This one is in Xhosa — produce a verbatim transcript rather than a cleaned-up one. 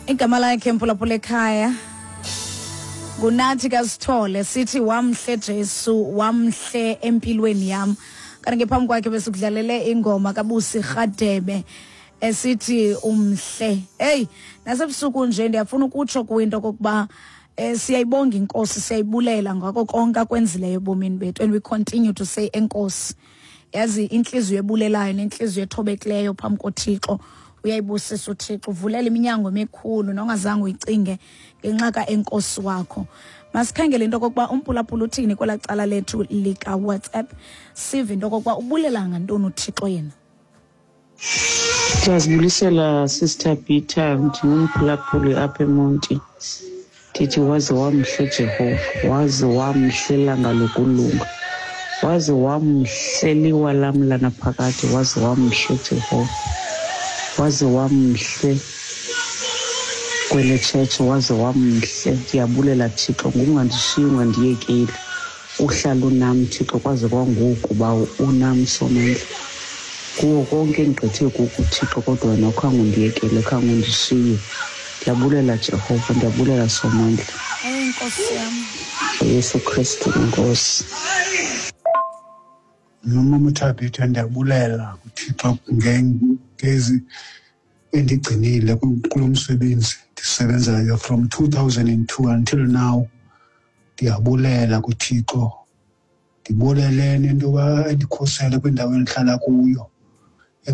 Igama lakhe, mphulaphula ekhaya, nguNathi kaSithole. Sithi wamhle Jesu, wamhle empilweni yam. Kanti ke phambi kwakhe besikudlalele ingoma kaBusi Rhadebe esithi umhle. Hey, nasebusuku nje ndiyafuna ukutsho kwinto kokuba eh siyayibonga inkosi, siyayibulela ngako konke akwenzileyo ebomini bethu, and we continue to say enkosi. Yazi, inhliziyo ebulelayo nenhliziyo ethobekileyo phambi koThixo uyayibusisa uThixo, uvulela iminyango emikhulu nongazange uyicinge ngenxa kaenkosi wakho. Masikhangele into okokuba umphulaphula uthini kwelaa cala lethu lika-WhatsApp, sive into okokuba ubulela ngantoni uThixo yena. Ndiyazibulisela, Sister Peter. Ndingumphulaphuli apha eMonti. Ndithi waze wamhle Jehova, waze wamhle langa lokulunga, waze wamhle liwa lam lanaphakade, waze wamhle Jehova, waze wamhle kwele tshetshe, waze wamhle. Ndiyabulela Thixo ngokungandishiyi, ungandiyekeli, uhlala unam Thixo kwaze kwangoku, Bawo, unam Somandla. Kuwo konke endigqithe kuko Thixo, kodwa wena khange undiyekele, khange undishiye. Ndiyabulela Jehova, ndiyabulela Somandla. Eyi Nkosi yam. Yesu Kristu inkosi. Nomama uThabitha, ndiyabulela kuThixo ngezi endigcinile kulo msebenzi ndisebenzayo from two thousand and two until now. Ndiyabulela kuThixo, ndibulele nento yoba endikhusele kwindawo endihlala kuyo.